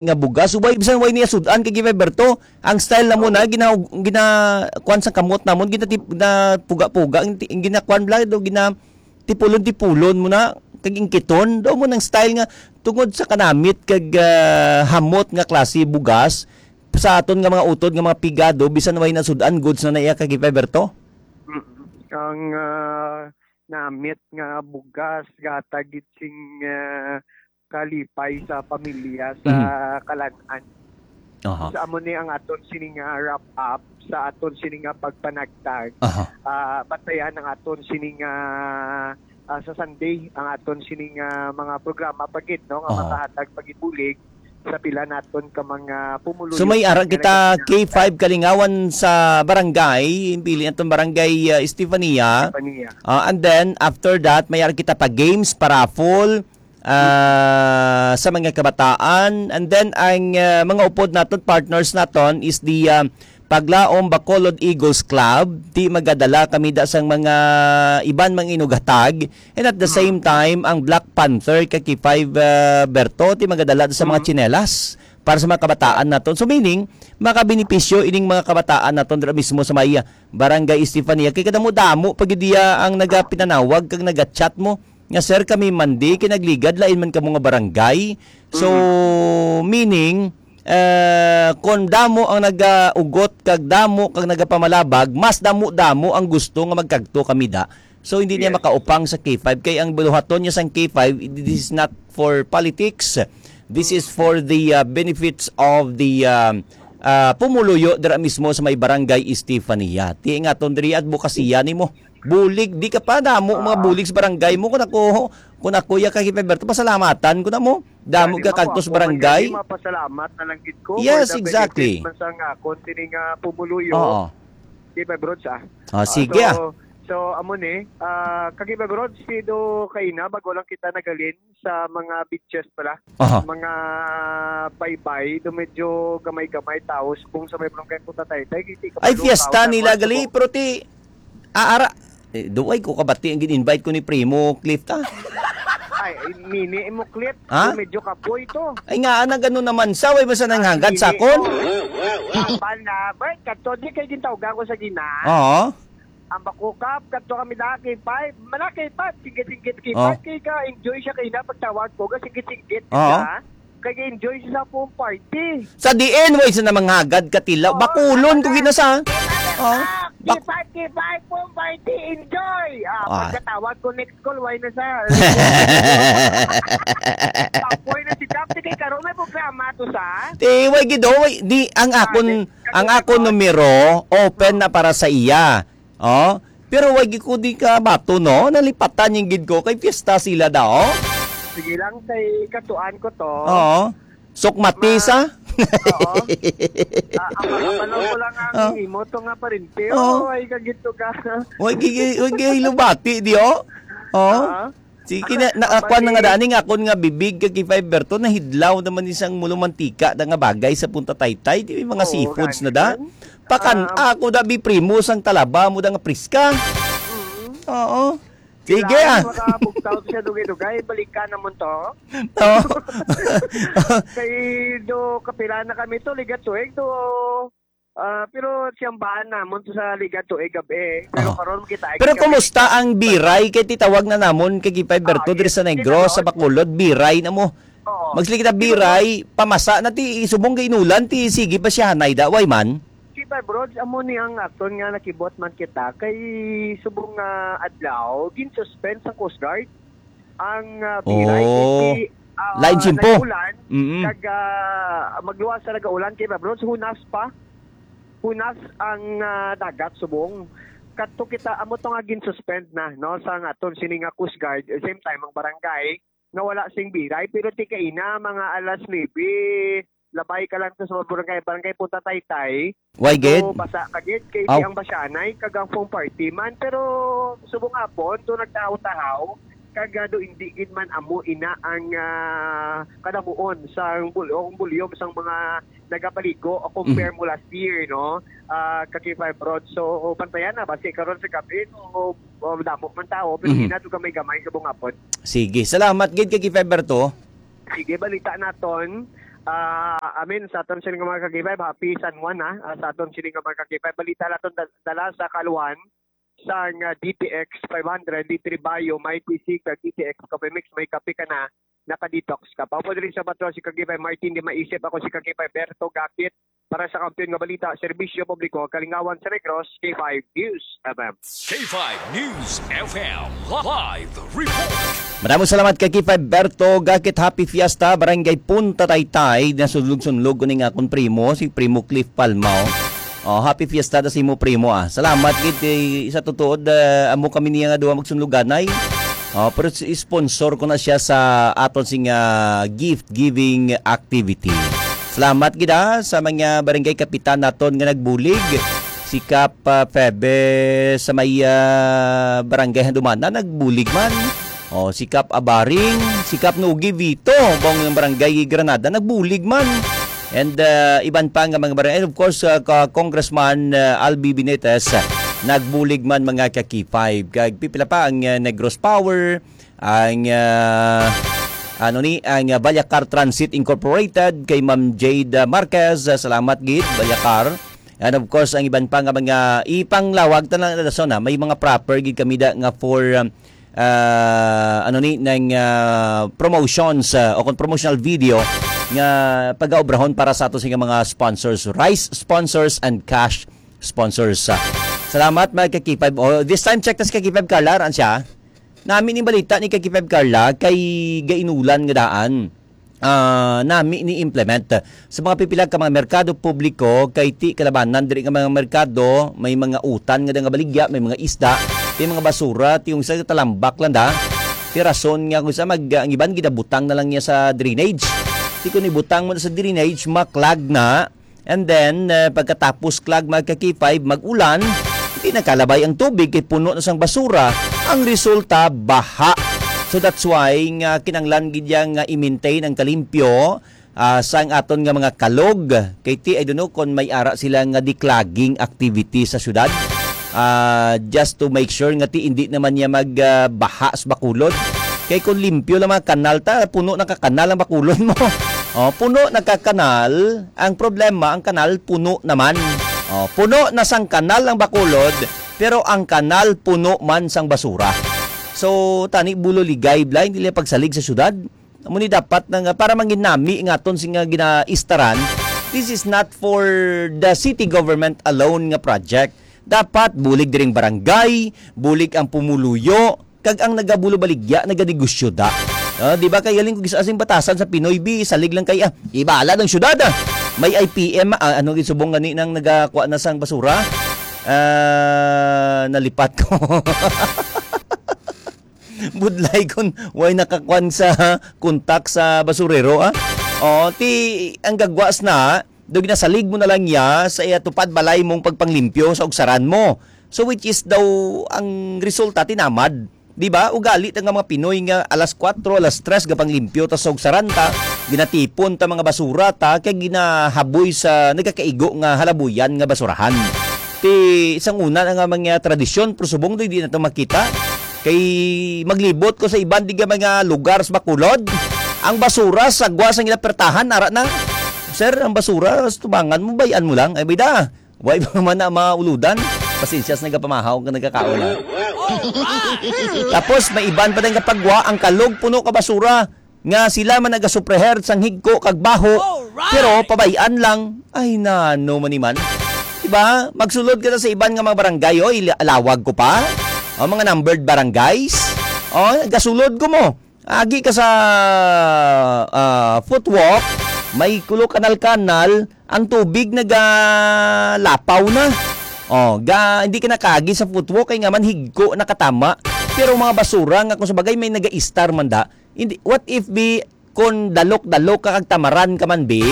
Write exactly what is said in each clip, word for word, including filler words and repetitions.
nga bugas, way, bisan way niya sud-an kay Gibay Berto. Ang style na mo Oo. na, gina-, gina-, kuwan sa kamot namon, ginatip-, na puga-puga, ang ti-, ang ginakuwan bala, do, gina-, tipulon-tipulon mo na, kag ingkiton. Do mo nang style nga, tungod sa kanamit kag, ah, hamot nga klase bugas, sa aton nga mga utod nga mga pigado, bisan way nasud-an, goods na na iya kag Gibay Berto? Mm. Ang, ah, namit nga bugas, gatag gid sing, ah, kalipay sa pamilya sa Mhm. kalan-an. Aha. Sa amo ni ang aton sini nga wrap up, sa aton sini nga pagpanagtag. Aha. Ah, bantayan ang aton sini nga, ah, sa Sunday, ang aton sini nga mga programa pa gid, no, nga Aha. makahatag pa gid bulig sa pila naton ka mga pumuluyo So may ara nga kita nagkasina. K five kalingawan sa barangay, pili naton barangay, ah, Estefania. Estefania. Ah, and then after that, may ara kita pa games, pa raffle, ah, sa mga kabataan. And then ang, ah, mga upod naton, partners naton is the, ah, Paglaom Bacolod Eagles Club. Di magadala kami da sang mga iban mang inughatag. And at the Mm. same time, ang Black Panther kag K five, ah, Berto, di magadala da sa mga Mm. tsinelas para sa mga kabataan naton. So meaning, makabenepisyo ining mga kabataan naton dira mismo sa may, ah, Barangay Estefania. Kay kadamo-damo pa gid diya ang nagapinanawag kag nagachat mo nga, "Sir, kami man di, kay nagligad lain man kamo nga barangay." So, Mm. meaning, eh, kung damo ang nagaugot kag damo kag nagapamalabag, mas damo-damo ang gusto nga magkagto kami da. So, hindi niya Yes. makaupang sa K five. Kay ang buluhaton niya sang K five, this is not for politics. This is for the, uh, benefits of the, um, uh, pumuluyo dira mismo sa may Barangay Estefania. Ti nga ton diri adbokasiya nimo. Bulig, di ka pa damo mga Ah. bulig sa barangay mo. Kung ako, kung ako ya kay Gilberto, pasalamatan ko na mo. Damo Dali ka mo, kagtos ako man barangay. Gani, mapasalamat na lang gid ko Yes, for the exactly. benefit man sa nga akon sini nga pumuluyo. Oo. Di ba, Brods, ah? Ah, Ah, sige, so, ah. so, amo ni, ah, kag iba, Brods, si do kaina, bago lang kita nagalin sa mga beaches pala. Aha. Mga baybay, do medyo gamay-gamay tao, subong sa may barangay Punta Taytay, hindi ka Ay, malukaw fiesta na nila, mga gali, subong. Pero ti, aara, eh, duway ko kabati ang gin-invite ko ni Primo Cliff, ta? Ay, mini mo, Cliff. Ha? Medyo kapoy to. Ay, nga, nagano naman sa, way ba sa nanghangad Ay, sa mini, akon? oh. Laban na, Bert, kato, di kay gintawgan ko sa gina. Oo. Ang bakukap, kato kami na K five. Mana K five, singgit-singgit K five. Oh. Kay ka-enjoy siya kay na pagtawag ko, ka singgit-singgit Oo. siya. Kay enjoy siya sa pool party. Sa diin, way sa namanghagad ka tila. Oo, Bakulon ko wala. gina sa. Oh. Ah, Bak- K five, K five, pool party, enjoy. Ah, Ah. pagkatawag ko next call, way na sa. Kapoy na si Dapti kay karon may programa to sa. Ti, way gid, oh, way, di, ang Ah, akon, di, ang kasi akon ito, numero, open Oh. na para sa iya. Oh, pero wag ko di ka bato, no? Nalipatan yung gid ko. Kay fiesta sila daw. Sige lang, kay katuan ko to. Oo. Sukmati Ma- sa? Oo. Ah, ang makapanong ko lang ang Oh. imo to nga parente, Oh. oh, ay kagito ka. Wag gi-, wag gi-, lubati, di, oh? Oh. Ah. Sige na, Ang nakakuan na nga parente. daan, nga akon nga bibig kag kay Fiber to, nahidlaw naman isang mulo mantika na nga bagay sa Punta Taytay, di may mga Oo, seafoods na da. ganun. Pakan Um, ako da bi primo sang talaba mo da nga priska. Mm. Oo. Sige, Kailangan ah. makabugtaw siya dugay-dugay, balikan naman to. Oo. Kay do kapila na kami to, ligat tuig to. Ah, pero siyang baan namon to sa ligat tuig gabi. Pero Oo. karon kita ay Pero gabi. kumusta ang biray? Kay titawag na namon kay Gipay Berto Ah, diri sa yes. Negros, sa Bacolod, biray na mo. Oo. Magsili kita Siguro biray, pamasa na ti subong kay inulan, ti sige pa siya hanay da, way man? Kita, bro, amo ni ang aton nga nakibot man kita kay subong nga adlaw, gin-suspend sa Coast Guard ang, ah, biray Oh. kay si, ah, Lain simpo. nag-ulan, Mm-mm. kag, ah, magluwas sa nag-ulan kay, bro, hunas pa. Hunas ang, ah, dagat subong. Kadto kita, amo to nga gin-suspend na, no, sa nga aton sini nga Coast Guard, same time ang barangay, nga wala sing biray, pero ti kaina, mga alas nuebe, labay ka lang to sa barangay, barangay Punta Taytay. Why, gid? So, basa ka gid, kay Aw. di ang basyanay, kag ang foam party man. Pero, subong hapon, to nagtahaw-tahaw, kag, ah, do hindi gid man amo ina ang, ah, kadamuon sang bul-, o ang volume sang mga nagapaligo o compare Mm. mo last year, no? Ah, kag kay Five Rods. So, bantayan na, basi karon sa gabi, no, o, damo man tao, pero Mhm. ina to gamay-gamay sa bungapon. Sige, salamat gid kay Fiber to. Sige, balita naton. Ah, amin sa aton sini nga mga ka-K five, happy San Juan, ha. Ah, sa aton sini nga mga ka-K five, balita naton dal- dala sa kaluan sang, ah, D T X five hundred, D three Bayo, may P C ka D T X Coffee Mix, may kape ka na, naka-detox ka. Paupod diri sa Batro, si ka-K five Martin, di maisip ako si ka-K five Berto Gakit para sa Kampiyon nga Balita, Serbisyo Publiko, Kalingawan sa Negros, K five News F M. K five News F M live report. Maraming salamat kay K five Berto Gakit. Happy Fiesta, Barangay Punta Taytay. Nasunlog-sunlog ko ning akon primo, si Primo Cliff Palma, oh. Oh, happy Fiesta ta sa imo, primo, ah. Salamat gid kay sa tutuod, ah, amo kami niya nga duha magsunluganay. Oh, pero si- sponsor ko na siya sa aton sing, ah, gift giving activity. Salamat gid, ah, sa mga barangay kapitan naton nga nagbulig. Si Kap, ah, Febe sa may, ah, barangay Handumanan nagbulig man. Oh, si Kap Abaring, si Kap Nugi Vito, bang ng barangay Granada, nagbulig man. And, uh, iban pa nga mga barangay. And of course, uh, ka Congressman, uh, Albi Benitez, uh, nagbulig man, mga ka-K five. Kag pipila pa ang, uh, Negros Power, ang, uh, ano ni, ang, uh, Balyacar Transit Incorporated, kay Ma'am Jade, uh, Marquez. Uh, salamat gid, Balyacar. And of course, ang iban pa nga mga ipanglawag ta lang, na may mga proper gid kami da nga for, um, ah, ano ni, nang, ah, promotions, ah, o kung promotional video nga pagaobrahon para sa ato sa mga sponsors, rice sponsors and cash sponsors. Ah, salamat, mga ka-K five. Oh, this time, check ta si ka-K five Carla, aran siya. Nami ni balita ni ka-K five Carla kay gainulan nga daan, ah, nami ni implement sa mga pipila ka mga merkado publiko, kay ti kalabanan diri nga mga merkado, may mga utan nga da nga baligya, may mga isda, may mga basura, ti yung sa talambak lang da. Ti rason nga kung sa mag, ang iban ginabutang na lang niya sa drainage. Ti kung ibutang mo na sa drainage, maklag na. And then, uh, pagkatapos klag, mga ka-K five, mag-ulan, di nakalabay ang tubig kay puno na sang basura. Ang resulta, baha. So that's why nga kinanglan gid ya nga i-maintain ang kalimpyo, ah, sang aton nga mga kalog. Kay ti, I don't know kung may ara sila nga declogging activity sa syudad. Ah, just to make sure nga ti hindi naman niya mag, ah, baha sa Bacolod. Kay kung limpyo lang mga kanal ta, puno na ka kanal ang Bacolod mo. Oh, puno na ka kanal. Ang problema, ang kanal puno naman. Oh, puno na sang kanal ang Bacolod, pero ang kanal puno man sang basura. So, tani bulo ligay, blay, hindi lang pagsalig sa syudad. Amo ni dapat na nga para manginami nga aton sing nga ginaistaran, this is not for the city government alone nga project. Dapat bulig diring barangay, bulig ang pumuluyo, kag ang nagabulo baligya naganegosyo da. Ah, di ba kay galing kung gisa sing batasan sa Pinoy bi, salig lang kay, ah, ibala ng syudad, ah. May I P M, ah, ano gisubong gani nang nagakuha na sang basura? Ah, nalipat ko. Budlay kon way nakakwan sa kontak sa basurero, ah. Oh, ti ang gagwas na, do ginasalig mo na lang ya sa iya tupad balay mong pagpanglimpyo sa ugsaran mo. So, which is daw ang resulta tinamad. Di ba? Ugali ta nga mga Pinoy nga alas kuwatro, alas tres, gapanglimpyo ta sa ugsaran ta, ginatipon ta mga basura ta, kay ginahaboy sa nagakaigo nga halabuyan nga basurahan. Ti, sang una na nga mga tradisyon, pero subong doy, di na to makita. Kay maglibot ko sa iban di nga mga lugar sa Bacolod. Ang basura, sagwa sang ila pertahan, ara na. Sir, ang basura, sa tubangan mo, bayan mo lang. Ay, bida, way pa man na mauludan. Pasensya sa nagapamahaw nga nagkakaon, ha. Tapos, may iban pa din kapagwa, ang kalog puno ka basura. Nga sila man nagasupleher sang higko kag baho, Alright! Pero pabay-an lang. Ay, nano man ni man. Diba? Magsulod ka na sa iban nga mga barangay, oy, la- lawag ko pa. O, mga numbered barangays. O, gasulod ko mo. Agi ka sa, ah, footwalk, may kulo kanal-kanal, ang tubig nagalapaw na. O, ga, hindi ka nakagi sa footwalk, kay nga man higko nakatama. Pero mga basura nga kung sa bagay may nagaistar man da, hindi, what if bi, kon dalok-dalok ka kag tamaran ka man, bi,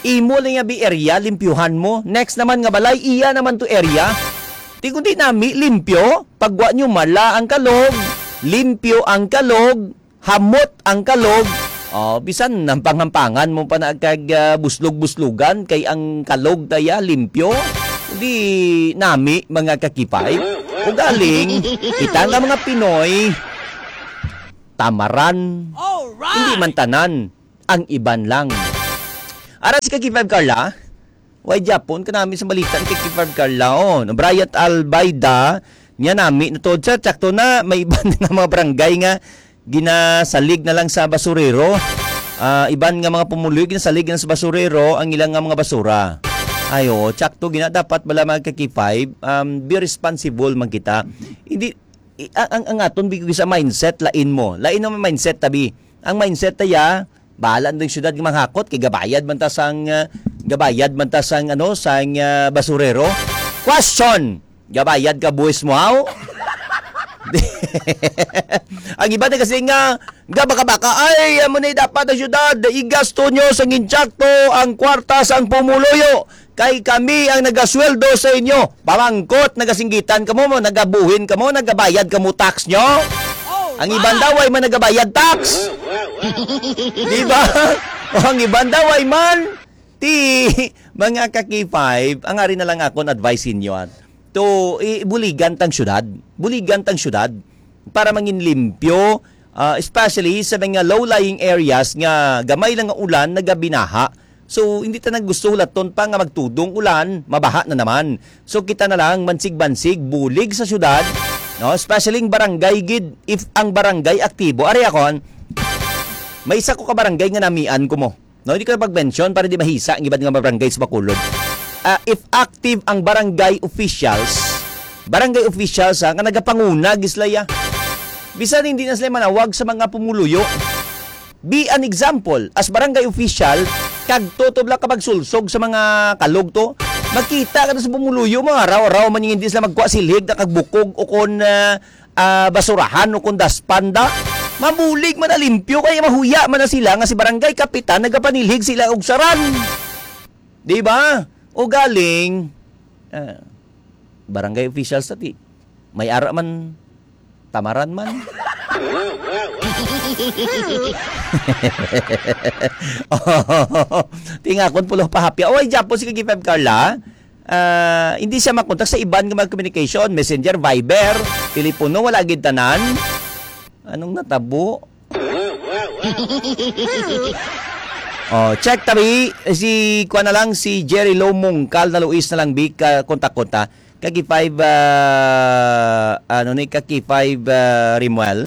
imo lang nga bi area, limpyuhan mo. Next naman nga balay, iya naman to area. Ti kundi nami, limpyo. Pagwa nyo, mala ang kalog, limpyo ang kalog, hamot ang kalog. Oh, bisan nampang-hampangan mo pa na kag, ah, buslog-buslugan kay ang kalog taya limpyo. Di nami, mga kakipay. Ugaling, kita nga mga Pinoy, tamaran. Alright! Hindi man tanan, ang iban lang. Ara si Kaki five Carla. Way Japon ka nami sa balita ni Kaki five Carla. Oh, no, Brian Albayda, niya nami na to. Sa tsakto na, may iban na mga barangay nga ginasalig na lang sa basurero. Ah, iban nga mga pumuluyo, ginasalig na sa basurero ang ilang nga mga basura. Ayo, tsakto gina dapat bala mga Kaki five, um, be responsible man kita. Hindi, i- ang, ang, ang aton bigay sa mindset, lain mo. Lain ang mindset, tabi. Ang mindset ta ya, bahala na yung syudad nga manghakot, kay gabayad man ta sang, ah, gabayad man ta sang, ano, sang, ah, basurero. Question! Gabayad ka buwis mo, haw? Ang iba na kasi nga, nga baka-baka, "Ay, amo na dapat ang syudad, igasto nyo sa intsakto ang kwarta sang pumuluyo. Kay kami ang nagasweldo sa inyo." Pamangkot, nagasinggitan kamo mo, nagabuhin kamo, nagabayad kamo tax nyo? Ang iban daw ay man nagabayad tax. Di ba? O ang iban daw ay man. Ti, mga ka-K five, ang ari na lang akon advice inyo, ah. To, i-, buligan tang syudad. Buligan tang syudad para mangin limpyo, ah, especially sa mga low-lying areas nga gamay lang nga ulan, nagabinaha. So, hindi ta naggusto hulaton pa nga magtudong ulan, mabaha na naman. So, kita na lang, mansig-mansig, bulig sa syudad, no? Especially ang barangay gid, if ang barangay aktibo. Ari akon, may isa ko ka barangay nga namian ko mo. No, hindi ko na pag-mention para di mahisa ang iban nga barangay sa Bacolod. Ah, if active ang barangay officials, barangay officials ha, nga nagapanguna, gislaya. Bisan hindi na sila manawag sa mga pumuluyo. Be an example. As barangay official, kag tutob lang ka magsulsog sa mga kalog to. Makita ka na sa pumuluyo mo, araw-araw man yung hindi sila magkuha silhig na kagbukog o kon, ah, ah, basurahan o kon daspan da. Mabulig man na limpyo, kaya mahuya man na sila nga si barangay kapitan nagapanilhig sila og saran. Di ba? O galing, ah, barangay officials tati. May ara man, tamaran man. Tingakon pulo pahapya. Oy, Japo, si Kaki Feb Carla. Ah, hindi siya makontak sa iban nga mga communication, messenger, Viber, telepono, wala gid tanan. Anong natabo? Oh, check tabi, si kuan na lang, si Jerry Lo Mungkal na Luis na lang, big, ah, kontak-kontak. Kaki five, ah, ano ni, Kaki five, ah, Rimuel.